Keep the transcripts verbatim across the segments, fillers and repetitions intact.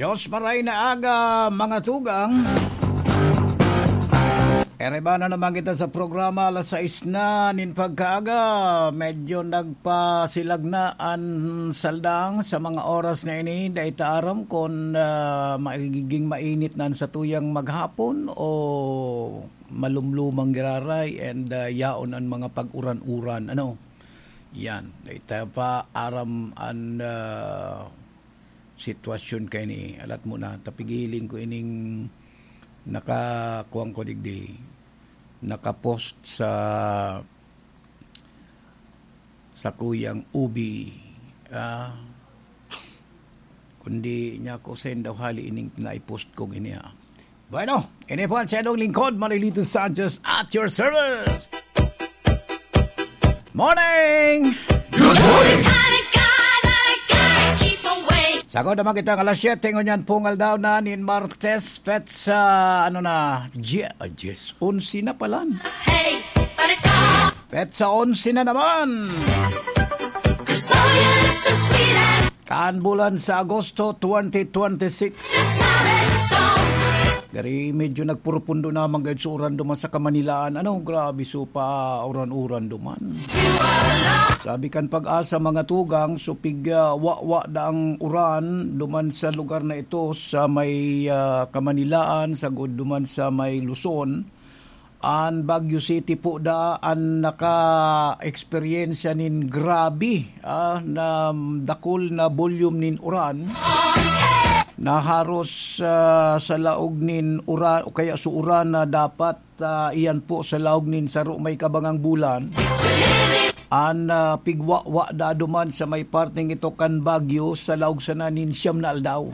Diyos maray na aga, mga tugang. Ereba na naman kita sa programa, alas sais na nin pagkaaga. Medyo nagpasilag na an saldang sa mga oras na ini. Dai ta aram kun, ah, magiging mainit na an satuyang maghapon o malumlumang giraray and, ah, yaon an mga pag-uran-uran. Ano? Yan. Dai ta pa aram an, ah, sitwasyon kaini. Alat mo na, tapigiling ko ining nakakuwang ko digdi, nakapost sa, sa kuyang ubi. Ah, kundi niya ko send daw hali ining naipost kong ini, ah. Bueno, ini po ang siyadong lingkod, Marilito Sanchez, at your service. Morning! Good morning! Sagod naman kita ng alas siyete, ngunyan pong aldaw na nin Martes, petsa, ano na, J-, ah, Jes, onse na palan. Petsa onse na naman. Kan bulan sa Agosto twenty twenty-six. Gari, medyo nagpurupundo naman gayod sa uran duman sa Kamanilaan. Ano, grabe, so pa uran-uran duman. Sabi kan Pag-asa, mga tugang, so pig, ah, wawa da ang uran duman sa lugar na ito, sa may, ah, Kamanilaan, sagod duman sa may Luzon. An Baguio City po da an naka-eksperyensya nin grabe, ah, na dakul na volume nin uran na haros, ah, sa laog nin uran o kaya sa uran na dapat, ah, iyan po sa laog nin saro may kabangang bulan. An, ah, pigwawa da duman sa may parteng ito kan Baguio sa laog sana nin siyam na aldaw.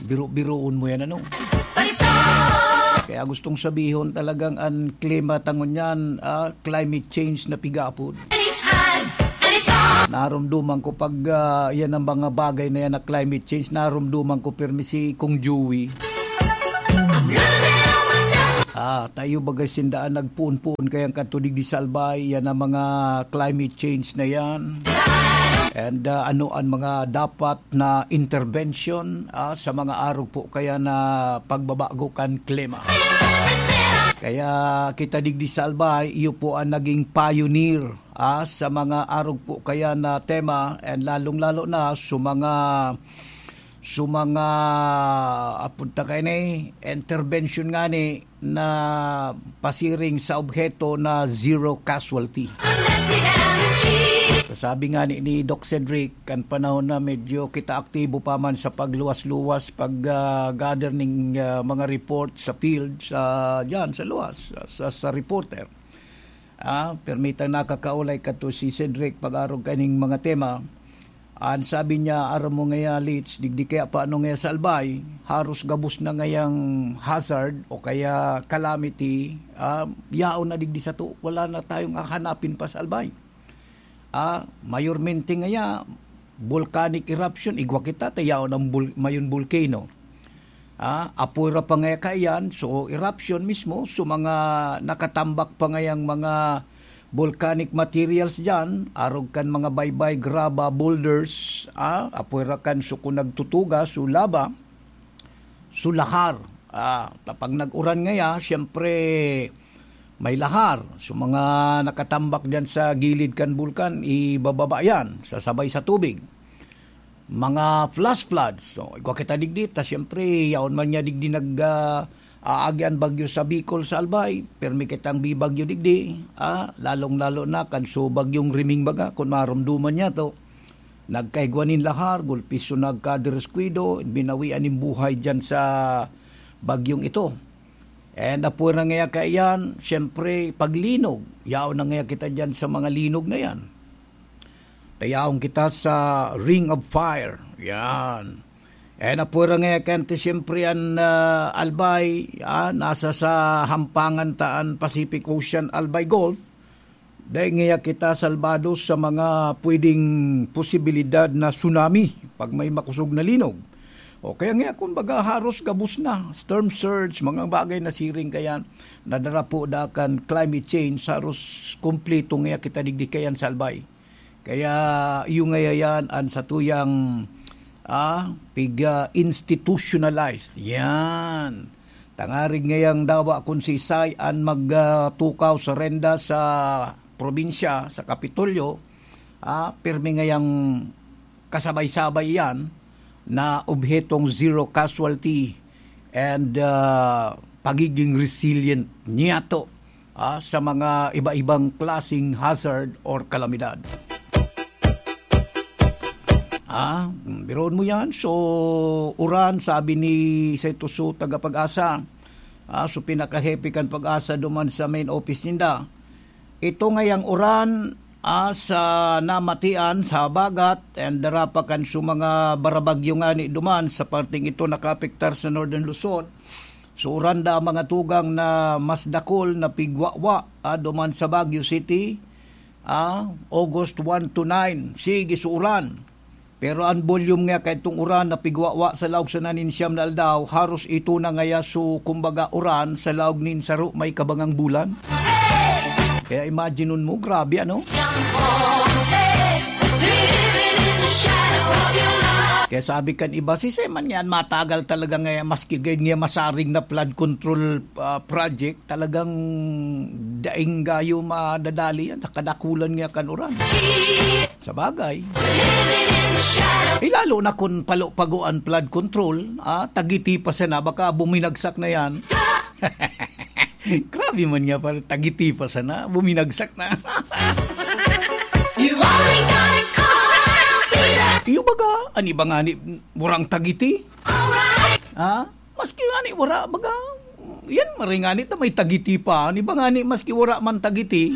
Biro-biroon mo yan, ano? Kaya gustong sabihon talagang an klima ta ngunyan, ah, climate change na pigapod. Narumduman ko pag, ah, yan ang mga bagay na yan na climate change, narumduman ko pirmi si Kong Joey. Ah, tayo bagay sindaan nagpoon-poon kayang katudig di Salbay, yan ang mga climate change na yan. And, ah, ano ang mga dapat na intervention, ah, sa mga arog po kaya na pagbabago kan klima. Kaya kita digdi sa Albay, iyo po ang naging pioneer, ah, sa mga arog po kaya na tema, and lalong-lalo na sa mga, sa mga, apod ta kaini, intervention ngani, na pasiring sa obheto na zero casualty. Sabi nga ni, ni Doc Cedric, kan panahon na medyo kita aktibo pa man sa pagluwas-luwas, pag, ah, gather ning, ah, mga report sa field, sa, diyan, sa luwas, sa, sa, sa reporter. Ah, permitang nakakaulay kato si Cedric pag-arog kaning mga tema. An sabi niya, "Aram mo ngaya, Litz, digdi kaya pa ano ngaya sa Albay, haros gabos na ngayang hazard o kaya calamity, ah, yaon na digdi sato. Wala na tayong hahanapin pa sa Albay." Ah, mayormente ngaya, volcanic eruption, igwa kita, ta yaon ang bul-, mayon volcano. Ah, apoy ra pa ngaya kaiyan, so eruption mismo, so mga nakatambak pa ngayang mga volcanic materials diyan, arog kan mga baybay, graba, boulders, ah, apoy ra kan so kun nagtutuga, so lava, so lahar. Ah, ta pag nag-uran ngaya, siyempre, may lahar. So mga nakatambak diyan sa gilid kan bulkan, ibababa yan, sasabay sa tubig. Mga flash floods. So, igwa kita digdi, ta siyempre, yaon man niya digdi nag, ah, aagi an bagyo sa Bicol, sa Albay, permi kitang bibagyo digdi, ah, lalong-lalo na kan so bagyong Riming baga, kun marumduman niya to. Nagkaigwa nin lahar, gulpi so nagkadiskuido, binawian nin buhay diyan sa bagyong ito. And apoy ra ngaya kaiyan, siyempre, paglinog. Yaon na ngaya kita diyan sa mga linog na yan. Tayaon kita sa Ring of Fire. Yan. And apoy ra ngaya kante, siyempre, an, ah, Albay, ah, nasa sa hampangan ta an Pacific Ocean, Albay Gulf. Dai ngaya kita salbado sa mga pwedeng posibilidad na tsunami pag may makosog na linog. O kaya ngaya, kumbaga, haros gabos na, storm surge, mga bagay na siring kaya nadarapo da kan climate change, haros kumpleto ngaya kita digdi kayan sa Albay. Kaya iyo ngaya yan an satuyang Ah, pig, ah, institutionalized. Yan. Tangarig ngayang dawa kun sisay an mag, ah, tukaw sa renda sa probinsya, sa Kapitolyo, ah, pirmi ngayang kasabay-sabay yan na obhetong zero casualty and, ah, pagiging resilient niyato, ah, sa mga iba-ibang klaseng hazard or kalamidad. Ah, mm, biruon mo yan. So, uran, sabi ni Setoso, taga Pag-asa. Ah, so, pinakahepe kan Pag-asa duman sa main office ninda. Ito ngayang uran, ah, sa namatian, sa habagat, and dara pa kan so mga barabagyo ngani duman sa parteng ito nakaapektar sa Northern Luzon. So, uran da ang mga tugang na mas dakul na pigwawa, ah, duman sa Baguio City, ah, August one to nine. Sige, so uran. Pero an volume nga kaitong uran na pigwawa sa laog sa naninsyam na aldaw, haros ito na ngaya so, kumbaga, uran sa laog nin saro may kabangang bulan. Kaya imagine mo, grabe, ano? Kaya sabi kan iba, "Sisay man yan, matagal talaga ngaya, maski gayud nga masarig na flood control, ah, project, talagang daing gayo madadali yan, kadakulan nga kan uran." Sa bagay. Eh, lalo na kun palo-pago an flood control, ah, tagiti pa sana, baka buminagsak na yan. Grabe man nga, pare, tagiti pa sana, buminagsak na. You only gotta call Peter. Iyo baga, an iba ngani, murang tagiti. Alright. Ha? Maski ngani wara, baga, yan, maray ngani ta may tagiti pa. An iba ngani, maski wara man tagiti.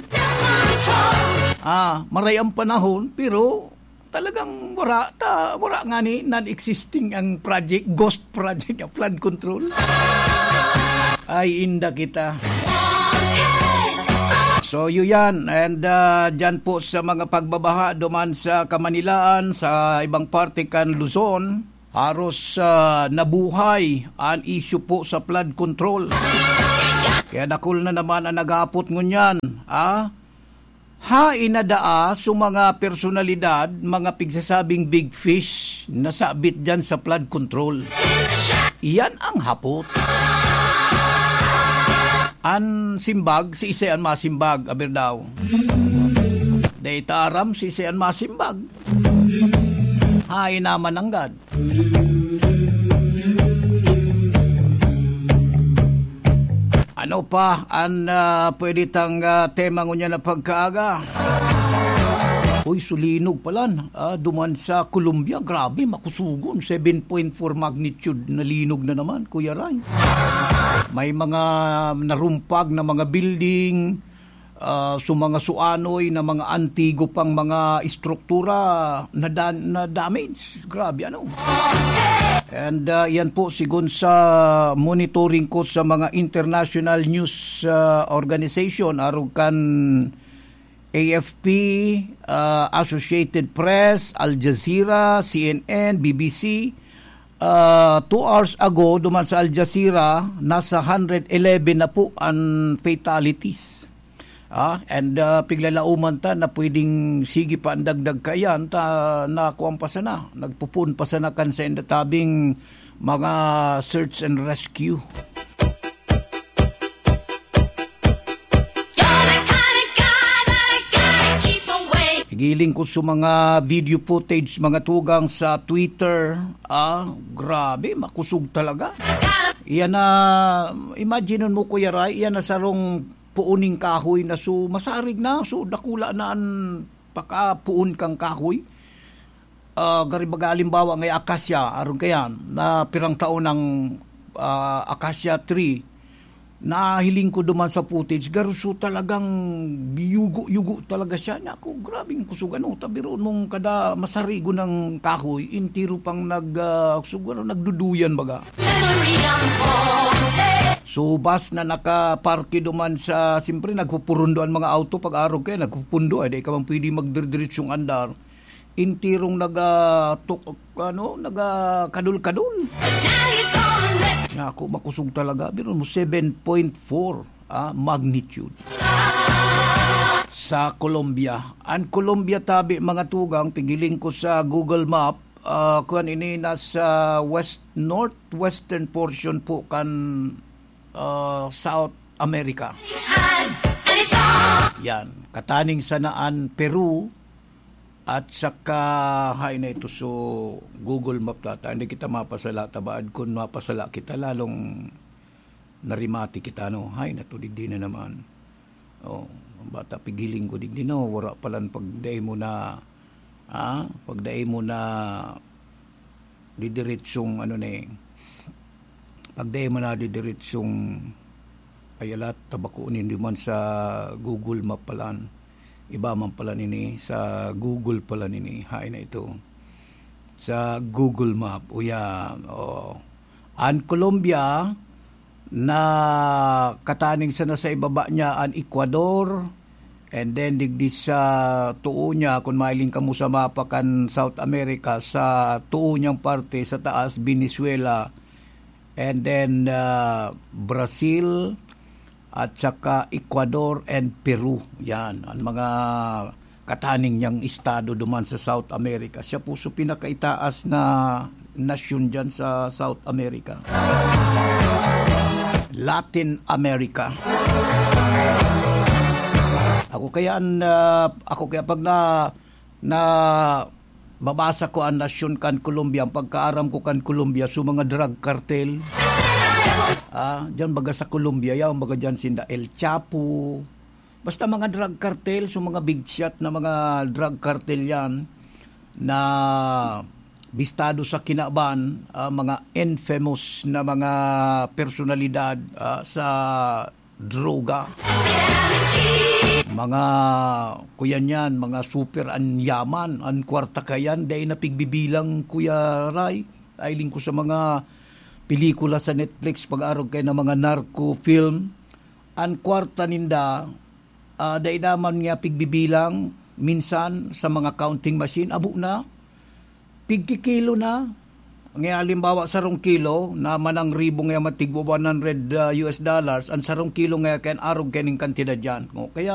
Ah, maray ang panahon, pero talagang wara ta, wara ngani, non-existing ang project, ghost project, ang flood control. Ay, inda kita. So, yun yan. And, ah, dyan po sa mga pagbabaha duman sa Kamanilaan, sa ibang parte kan Luzon, haros, ah, nabuhay an isyu po sa flood control. Kaya dakul na naman ang nag-aapot ngunyan, ah? Hain na daa so mga personalidad, mga pigsasabing big fish, na sabit dyan sa flood control? Iyan ang hapot. An simbag, siisay an masimbag, aber daw. Dai ta aram, siisay an masimbag. Hain naman nanggad. Ano pa an, ah, pwede tang, ah, tema ngunyan na pagkaaga? Uy, sulinog palan, ah, duman sa Colombia. Grabe, makusugon. Seven point four magnitude na linog na naman, Kuya Ray. May mga narumpag na mga building, ah, so mga suanoy na mga antigo pang mga estruktura na dan-, na damage. Grabe, ano? And, ah, yan po, sigon sa monitoring ko sa mga international news, ah, organization, arog kan A F P, ah, Associated Press, Al Jazeera, C N N, B B C, ah, two hours ago, duman sa Al Jazeera, nasa hundred eleven na po ang fatalities. Ah, and, ah, piglalauman ta na pwedeng sige pa ang dagdag kaiyan, ta, nakuan pa sana, nagpupuon pa sana kan sa indatabing mga search and rescue. You're the kind of guy that I gotta keep away. Higiling ko sa mga video footage, mga tugang sa Twitter. Ah, grabe, makusog talaga. Iyan na, imagine mo, Kuya Ray, iyan na sarong puon ning kahoy na so masarig na, so dakula na an pakapuon kang kahoy. Ah, gari baga, halimbawa, ngay akasya, aron kayan, na pirang taon ang, ah, akasya tree, nahiling ko duman sa footage, garo so talagang biyugo-yugo talaga siya. Naku, grabeng kusog, ano, tabiroon mong kada masarigon ng kahoy, entero pang nag, ah, kusog, ano, nagduduyan baga. Memory ang bote. So, bus na nakaparke duman sa, siyempre, nagpupurundo ang mga auto pag arog kaya, nagpupundo, ay, di ka man pwede magdiretsyong andar. Enterong naga-, tuk-, ano, nagakadul-kadul. Now you gonna let Naku, makusog talaga. Biro mo, seven point four, ah, magnitude. Sa Colombia. Ang Colombia tabi, mga tugang, pigiling ko sa Google Map, ah, kuwan ini nasa west, northwestern portion po kan, ah, South America. Yan, kataning sana an Peru at saka, hay na ito, so Google Map tata, hindi kita mapasala, tabaad kun mapasala kita, lalong narimati kita, no? Hay na to, digdi na naman. Oh, bata, pigiling ko digdi, no? Wara palan pagdai mo na, ah, pagdai mo na didiretsong, ano na eh, pagdai mo na didiretsong, ay, alat, tabako nin duman sa Google Map palan. Iba man pala nini, sa Google pala nini. Hay na ito. Sa Google Map, uyan, oh. An Colombia, na kataning sana sa ibaba niya an Ecuador, and then digdi sa tuo niya, kun mahiling kamo sa mapa kan South America, sa tuo niyang parte sa taas, Venezuela, and then, ah, Brazil, at saka Ecuador and Peru. Yan, ang mga kataning niyang estado duman sa South America. Siya po so pinakaitaas na nasyon dyan sa South America. Latin America. Ako kaya an, ah, ako kaya pag na, na babasa ko an nasyon kan Colombia, ang pagkaaram ko kan Colombia, so mga drug cartel. Ah, dyan baga sa Colombia, yan baga dyan sinda El Chapo. Basta mga drug cartel, so mga big shot na mga drug cartel yan na bistado sa kinaban, ah, mga infamous na mga personalidad, ah, sa droga. Mga kuyan yan, mga super an yaman, an kwarta kayan, dai na pigbibilang, Kuya Ray. Ailing ko sa mga pelikula sa Netflix, pag-arog kay na mga narco film. An kwarta ninda, ah, dai naman nga pigbibilang, minsan sa mga counting machine, abo na. Pigkikilo na. Nga halimbawa, sarong kilo na manang ribo nga matigwa one hundred, ah, U S dollars, ang sarong kilo nga kan arog kaning kantidad yan. O, kaya